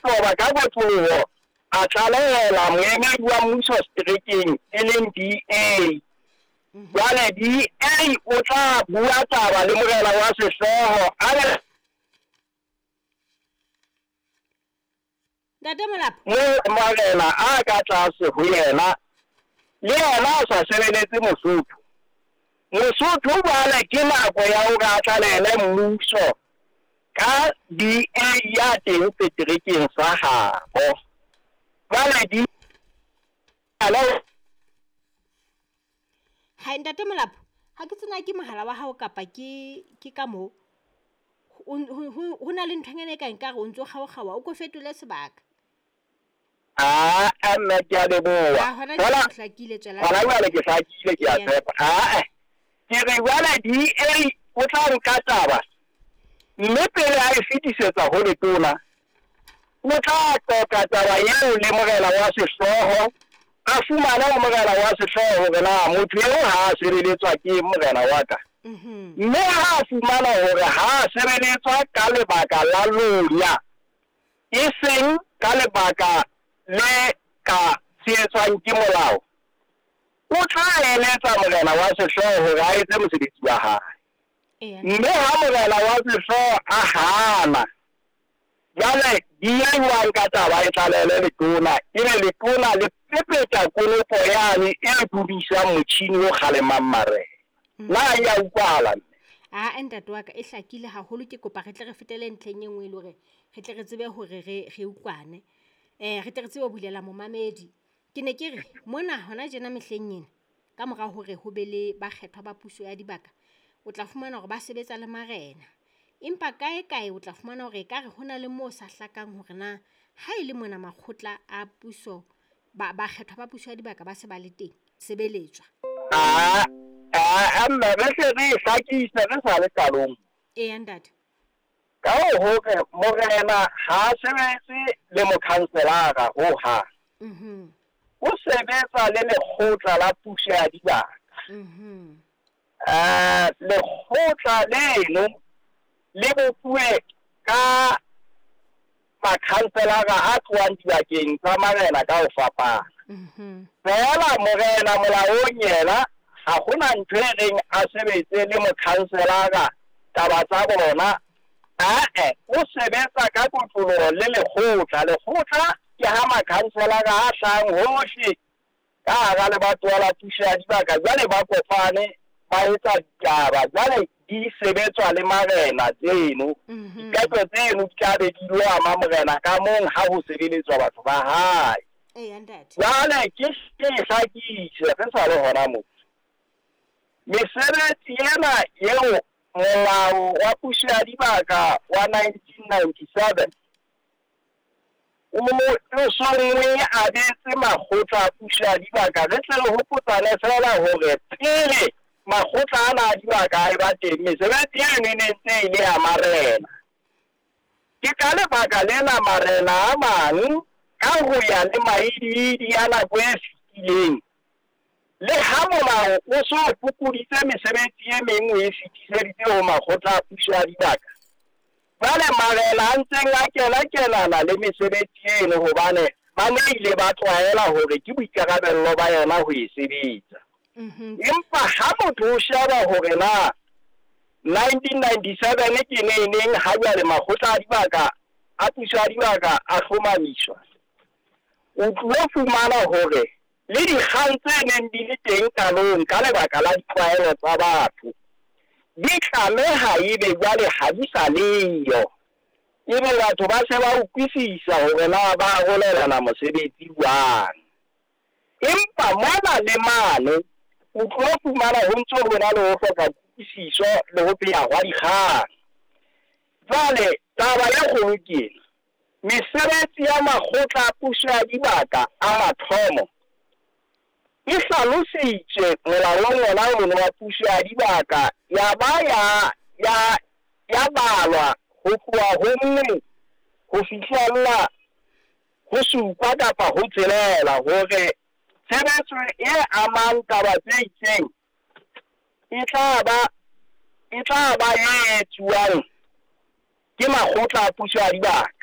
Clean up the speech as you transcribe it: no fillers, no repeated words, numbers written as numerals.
toba ka kotloloho a tlalehela moemedi wa mmuso seterekeng e leng DA. Jwale DA o tla bua taba le morena wa sehlooho a le Ntate Molapo. Mo morena a ka tlase ho yena le yena a sa sebeletse Mosotho. Mosotho jwale ke nako ya hore a tlalehele mmuso ka DA ya teng seterekeng sa habo. Jwale di Hai Ntate Molapo, ha ke tsena ke mohala wa hao kapa ke ka moo. Ho na le nthonyana e ka nkare o ntso kgaokgaoha, o ko fetole sebaka. Aa nna ke a leboha. Hona jwale o hlakile, tswela Hona jwale ke hlakile, ke a tshepa. Aa ke re jwale DA o tla nka taba mme pele a e fetisetsa ho letona, o tla qoqa taba eo le morena wa sehlooho, a fumane ho morena wa sehlooho hore na motho eo ha a sebeletswa ke morena wa ka. Mme ha a fumana hore ha a sebeletswa ka lebaka la lonya, e seng ka lebaka le ka tshehetswang ke molao, o tla eletsa morena wa sehlooho hore a etse mosebetsi wa hae. Mme ha morena wa sehlooho a hana, jwale DA wa nka taba e tlalehele letona, ebe letona le pepeta konopo yane e dudisang motjhini o kgalemang marena. Na ya utlwahala mme? Ah, ntate wa ka e hlakile haholo. Ke kopa re tle re fetele ntlheng e nngwe e le hore re tle re tsebe hore re utlwane. Re tle re tsebe ho bulela momamedi. Ke ne ke re mona hona tjena mehleng ena ka mora hore ho be le bakgethwa ba puso ya dibaka, o tla fumana hore ba sebetsa le marena. Empa kae kae o tla fumana hore ekare hona le moo sa hlakang hore na ha e le mona makgotla a puso bakgethwa ba puso ya dibaka ba se ba le teng sebeletswa. Aa mme re hle re e hlakise re sa le qalong. Eya ntate. Ka hore morena ha a sebetse le mokhanselara hohang. O sebetsa le lekgotla la puso ya dibaka. Lekgotla leno le bopuwe ka makhanselara a tlohang dibakeng tsa marena ka ho fapana. Feela morena molaong yena ha hona ntho e reng a sebetse le mokhanselara taba tsa bona. Ae, o sebetsa ka kotloloho le lekgotla. Lekgotla ke ha makhanselara a hlahang hohle ka hara lebatowa la puso ya dibaka, jwale ba kopane ba etsa ditaba, jwale di sebetswa le marena tseno. Diqeto tseno di tla be di lo ama morena ka mong ha ho sebeletswa batho ba hae. Eya ntate. Jwale ke hlakise re sa le hona moo. Mesebetsi ena eo molao wa puso ya dibaka wa 1997 o songwe abetse makgotla a puso ya dibaka, re tle re hopotsane feela hore pele makgotla ana a dibaka a eba teng, mesebetsi eno e ne ntse e le ya marena. Ke ka lebaka lena marena a mang ka ho ya le maidiidi a nako e fetileng, le ha molao o so fokoditse mesebetsi e meng o e fetiseditse ho makgotla a puso ya dibaka, jwale marena a ntseng a kena-kenana le mesebetsi eno hobane ba ne ile ba tlwaela hore ke boikarabello ba yona ho e sebetsa. Empa ha motho o sheba hore na 1997 ke neneng ha jwale makgotla a dibaka a puso ya dibaka a hlomamiswa, o tlo fumana hore le dikgang tse neng di le teng qalong ka lebaka la ditlwaelo tsa batho di tlameha ebe jwale ha di sa leyo, ebe batho ba se ba utlwisisa hore na ba arolelana mosebetsi jwang. Empa mona le mane o tlo fumana ho ntso ho na le ho hloka kutlwisiso le ho pheha hwa dikgang. Jwale taba e kgolo ke ena, mesebetsi ya makgotla a puso ya dibaka a mathomo e hlalositswe molaong wona ono wa puso ya dibaka, ya ba ya balwa ho tloha ho 1 ho fihlella ho 7 kapa ho 6, hore tshebetso e amang taba tse itseng e tla ba e etsuwang ke makgotla a puso ya dibaka.